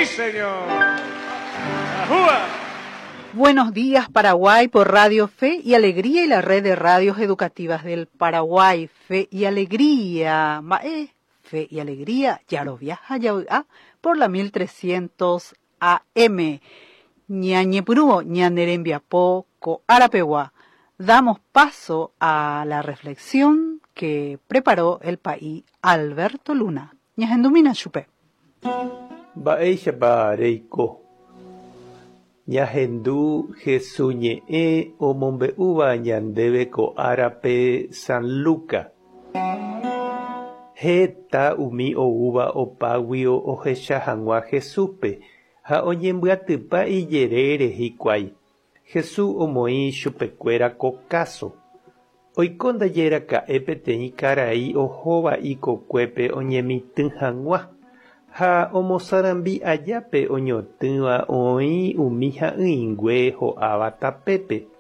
¡Sí, señor! ¡Ajúa! Buenos días, Paraguay, por Radio Fe y Alegría y la red de radios educativas del Paraguay. Fe y Alegría. Mae, Fe y Alegría, Yaroviaja, Yaoa, por la 1300 AM. Ñañepurúo, ñanerembiapo, ko arapewa. Damos paso a la reflexión que preparó el país Alberto Luna. Ñahendumína chupe. Mba'éichapa reiko. Ñahendu Hesu ñe'ẽ omombe'úva ñandéve ko árape San Luca. Heta umi oúva opáguio ohecha hag̃ua Jesúspe ha oñembyatypa ijerére hikuái. Jesús omoĩ chupekuéra ko káso. Oiko ndajeraka'e peteĩ karai ohóva ikokuépe oñemitỹ hag̃ua, ha omosarambi aja pe oñotỹva oĩ umi ha'ỹingue ho'áva tapépe.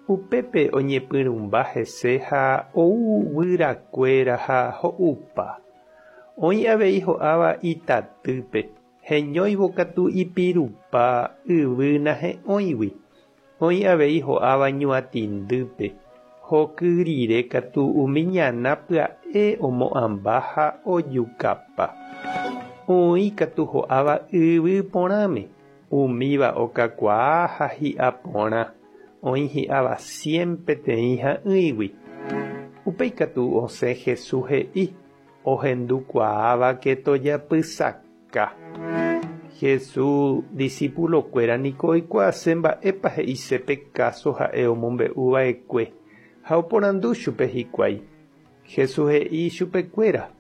Upépe oñepyrũmba hese ha ou guyrakuéra ha ho'upa. Oĩ avei ho'áva itatýpe, heñóivo katu ipirupa yvy nahe'õigui. Oĩ avei ho'áva ñuatĩndýpe, hoky rire katu umi ñana pya'e omo'ãmba ha ojukapa. Oĩ katu ho'áva yvy porãme, umíva okakuaa ha hi'a porã, oĩ hi'áva cien peteĩ ha'ỹigui. Upéi katu osẽ Jesús he'i, Ohendukuaávake tojapysaka. Jesús disípulokuéra niko oikuaase mba'épa he'ise pe káso ha'e omombe'u va'ekue, ha oporandu chupe hikuái. Jesús he'i chupekuéra,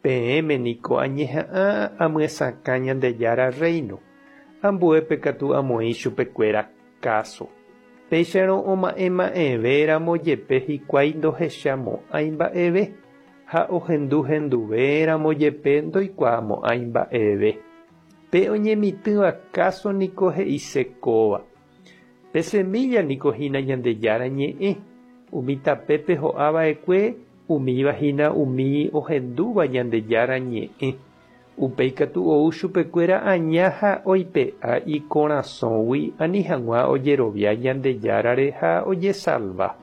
Peẽme niko añeha'ã amyesakã Ñandejára Rréino, ambuépe katu amoĩ chupekuéra káso. Péicharõ oma'ẽma'ẽve ramo jepe hikuái ndohechamo'ãi mba'eve. Ha ohendu henduve ramo jepe ndoikuaamo'ãi mba'eve. Pe oñemitỹva káso niko he'ise kóva. Pe semílla niko hína Ñandejára Ñe'ẽ, umi tapépe ho'a va'ekue, umíva hína umi ohendúva Ñandejára Ñe'ẽ. Upéi katu ou chupekuéra aña ha oipe'a ikorasõgui ani hag̃ua ojerovia Ñandejárare ha ojesalva.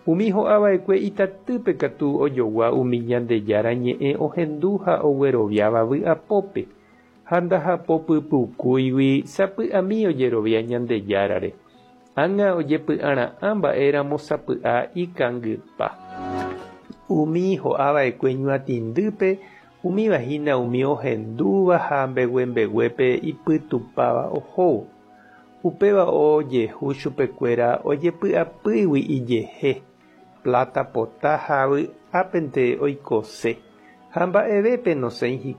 Umi ho'ava'ekue itatýpe katu ojogua umi Ñandejára ñe'ẽ ohendu ha ogueroviáva vy'apópe, ha ndahapopypukúigui sapy'ami ojerovia Ñandejárare. Ág̃a ojepy'ara'ã mba'éramo sapy'a ikangypa. Umi ho'ava'ekue ñuatĩndýpe Umíva hína umi ohendúva ha mbeguembeguépe ipytupáva ohóvo. Upéva ojehu chupekuéra ojepy'apýgui ijehe, pláta pota ha vy'ápente oikose, ha mba'evépe nosẽi hikuái.